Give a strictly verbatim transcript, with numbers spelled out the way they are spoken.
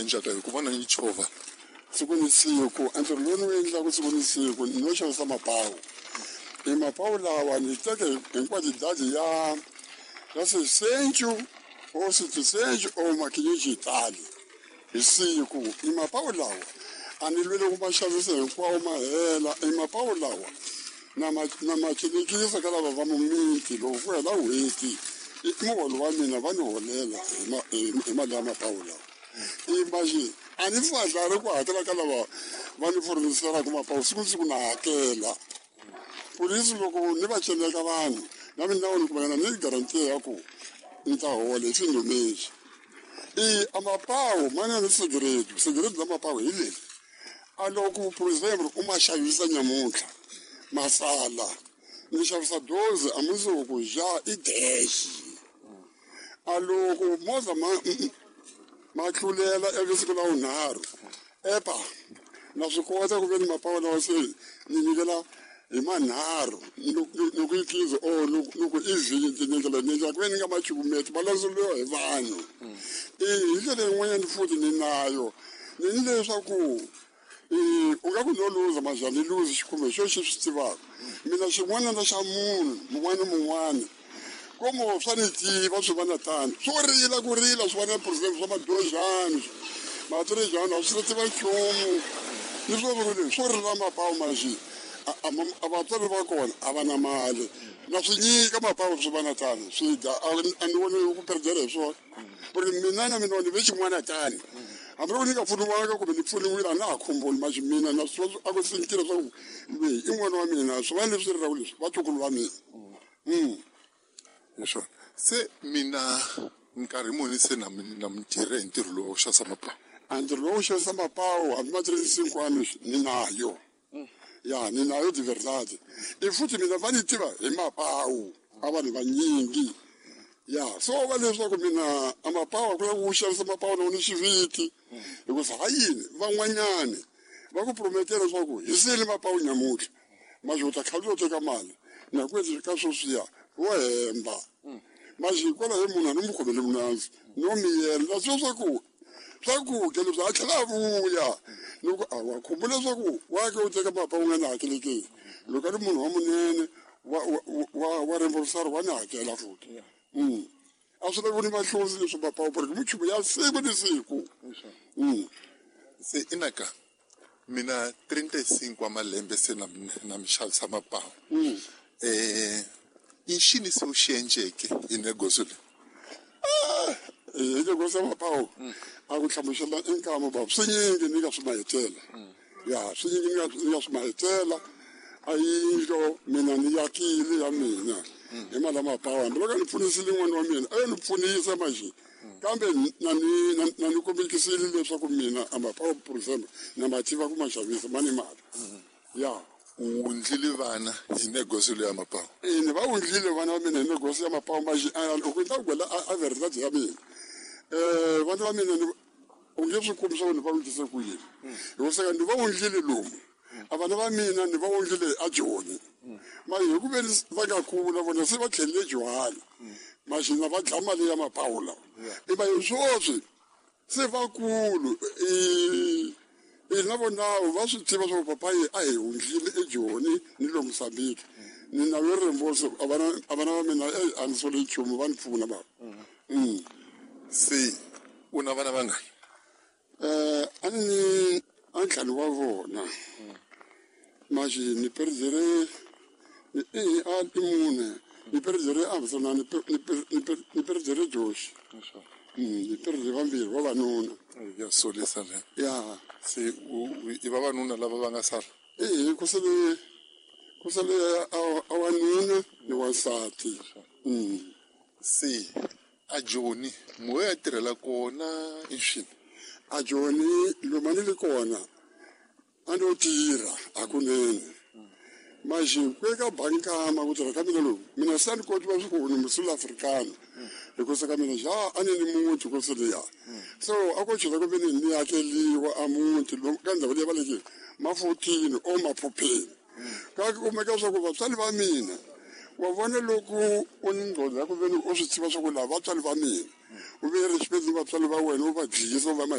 endlaka hi ku vona ni chovha siku ni siku ntirho lowu ni wu endlaka siku ni siku ni no xavisa mapawu i mapawu lawa ni teke hinkwato ya ya sesencu o setisencu o makinyejitali hi siku i mapawu lawa a ni lwele ku ma xavisa hinkwawo ma hela i mapawu lawa na ma na ma cinikisa ka lava va mumiti loko ku hela n'hweti i muholo wa mina va ni holela hi ma hi mali ya mapawu lawa imagine a ni fadlari ku hakela ka lava va ni furniselaka mapawu siku ni siku na hakela polisi loko ni va celeka vanhu na mina ni kumanyana ni garantiya ya ku ni ta hola hi xindumexi i a mapawu ma na ni sigaretu sigaretu la mapawu hi leri a loko for example u ma xavisa nyamuntlha masala ni xavisa dozi a mundzuku ja i dash a loko movha ma ma tlulela ivi siku la vunharhu epa na swi kota ku ve ni mapawu lawa se ni nyikela hi manharhu loko i tlizi or loko i vhiki ni ndlela ni endlela ku ve ni nga ma cukumeti ma landzeriwa hi vanhu i hi ndlela yin'wanyana futhi ni nayo ni ni leswaku u nga ku no luza maja ni luzi xikhumbe xo xi swi tivaka mina xin'wana na xa munhu mun'wana ni mun'wana komo swa ni tiva swi va na tano swo rila ku rila swi va na president swa madojani matirejani a swi tiva nchumu ni swo ri swo rila mapawu maxi a vatswari va kona a va na mali na swi nyika mapawu swi va na tano swi dya a ni voni ku perdela hi swona ku ri mina na mina ni ve xin'wana tani hambi loko ni nga pfuniwanga kumbe ni pfuniwile a na ha khumbuli maxi mina na swi a ku sinkile swa ku loyi i n'wana wa mina swi va leswi rilaka leswi vatukulu va mina hi swona se mina nkarhi muni se na na mi tirhe hi ntirho lowu wa ku xavisa mapawu a ntirho lowu xavisa mapawu hambi ma tirhisi leswi ni nayo ya ni nayo de verdade i futhi mina va ni tiva hi mapawu a vanhu vanyingi ya so va leswaku mina a mapawu a ku lava ku xavisa mapawu na ni xiviti hikuva ha yini van'wanyani va ku prometela leswaku hi sele mapawu nyamuntlha maxi u ta khale u teka mali na ku endla ka sweswiya wo hemba maxi hikwalaho hi munhu a ni mu khomele munandzu no miyela na swi swa ku swakudya leswi a tlhela a vuya loko a wa khumbula leswaku wa ke u teka mapa u nga ni hakelekeni loko a ri munhu wa munene wa wa wa remborsaro wa ni hakela futhi mm a swi lavi ni mahlonzi leswi mapawu porque minchumu ya siku ni siku mm se inaka mina trinta e cinco wa malembe se na na mi xavisa mapawu mm eh i xini se u xi endleke hi negosio leyi hi negosio ya mapawu a ku hlamusela i nkama baba swi nyingi ni nga swi mahetela ya swi nyingi ni nga ni nga swi mahetela a yindlo mina ni yakile ya mina hi mali ya mapawu hambi loko a ni pfunisile n'wana wa mina a yo ni pfunisa manje kambe na ni na na ni kombekisile leswaku mina a mapawu for example na ma tiva ku ma xavisa ma ni mali ya u wundlile vana hi negosio leyi ya mapawu e ni va wundlile vana va mina hi negosio ya mapawu manje loko ni ta ku gwela a verdade ya mina um vana va mina ni u nge swi kumi swa ku ni va wundlise ku yini hikuva ni va wundlile lomu a vana va mina ni va wundlile a joni mara hi ku veni va nga kula vona se va tlhelele johana maxina va dlaya mali ya mapawu lawa i va hi swoswi se vakulu i i na vonawo va swi tiva swa ku papayi a hi wundlile ejoni ni lo Mozambique ni na yo remboso a vana a vana va mina ei a ni sole nchumu va ni pfuna bava mm. Se u na vana vangani? Eh, a ni ni a ntlhanu wa vona maxi ni perdere ni i a i mune ni perdere a ni ni ni ni perdere Joshi mm ni perdere vambirhi vavanuna. Ya solisa le. Ya. Se u i vavanuna lava va nga sala? E ku sele ku sele a a wanuna ni wansati mm Se a Joni mo ya tirhela kona i swini? A Joni lomu a ni ri kona a no tirha hakunene maxi ku eka bankama ku tirha ka mina loku mina se a ni koti va swi ku ni musula africana hikusa ka mina ja a ni ni muti ku seliya so a ko chela ku ve ni ni akeliwa a muti ka ndhawu leyi va leke ma-fourteen o maphupheni ka kumeka swa ku vatswari va mina wa vona loko u ni ngqondo ya ku ve ni u swi tiva swa ku lava vatswari va mina u ve respect ni vatswari va wena u va dlisa u va ma